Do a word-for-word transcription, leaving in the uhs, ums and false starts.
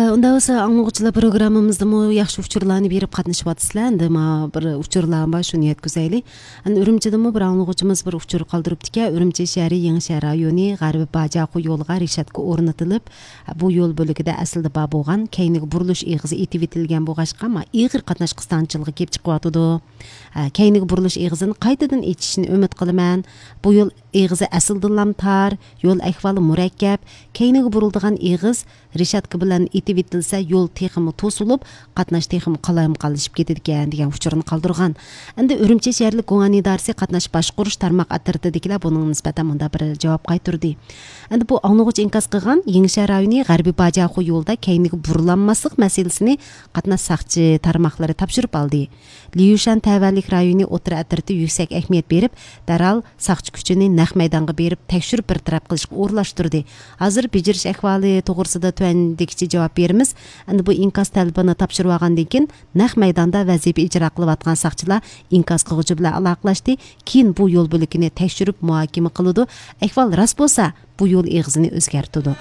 ئۇنداق بولسا، ئاڭلىغۇچىلار، پروگراممىمىزدىمۇ ياخشى ئۇچۇرلارنى بېرىپ قاتنىشىۋاتىسىلەر. ئەمدى ما بىر ئۇچۇرلار بار، شۇنى يەتكۈزەيلى. ئەنە، ئۈرۈمچىدىمۇ بىر ئاڭلىغۇچىمىز بىر ئۇچۇر قالدۇرۇپتىكەن. ئۈرۈمچى شەھىرى يېڭىشەھەر رايونى غەربىي باجاخو يولىغا رېشاتكا ئورنىتىلىپ، بۇ يول بۆلىكىدە ئەسلىدە بار بولغان كەينىگە بۇرۇلۇش ئېغىزى ئېتىۋېتىلگەن بولغاچقا، ما ئېغىر قاتناش قىستاڭچىلىقى كېلىپ چىقىۋاتىدۇ. ھە، كەينىگە بۇرۇلۇش ئېغىزىنى قايتىدىن ئېچىشىنى ئۈمىد قىلىمەن. بۇ يول ئېغىزى ئەسلىدىنلام تار، يول ئەھۋالى مۇرەككەپ، كەينىگە بۇرۇلىدىغان ئېغىز رېشاتكا بىلەن ئېتىۋېتىلسە، يول تېخىمۇ توسۇلۇپ، قاتناش تېخىمۇ قالايمىقانلىشىپ كېتىدىكەن، دېگەن ئۇچۇرنى قالدۇرغان. ئەمدى ئۈرۈمچى شەھەرلىك گۇڭئەن ئىدارىسى قاتناش باشقۇرۇش تارماق ئاپپاراتىدىكىلەر بۇنىڭغا نىسبەتەن مۇنداق بىر جاۋاب قايتۇردى. ئەمدى بۇ ئاڭلىغۇچى ئىنكاس قىلغان يېڭىشەھەر رايونى غەربىي باجاخو يولىدا كەينىگە بۇرۇلالماسلىق مەسىلىسىنى قاتناش ساقچى تارماقلىرى تاپشۇرۇپ ئالدى. ليۇشان تەۋەلىك رايونى ئوتتۇرا ئەترىتى يۈكسەك ئەھمىيەت بېرىپ، دەرھال ساقچى كۈچىنى نەق مەيدانغا بېرىپ، تەكشۈرۈپ بىر تەرەپ قىلىشقا ئورۇنلاشتۇردى. ھازىر بېجىرىش ئەھۋالى توغرىسىدا تۆۋەندىكىچە جاۋاب بېرىمىز. ئەمدى بۇ ئىنكاس تەلىپىنى تاپشۇرۇۋالغاندىن كېيىن، نەق مەيداندا ۋەزىپە ئىجرا قىلىۋاتقان ساقچىلار ئىنكاس قىلغۇچى بىلەن ئالاقىلەشتى. كېيىن بۇ يول بۆلىكىنى تەكشۈرۈپ مۇھاكىمە قىلىدۇ. ئەھۋال راست بولسا، بۇ يول ئېغىزىنى ئۆزگەرتىدۇ.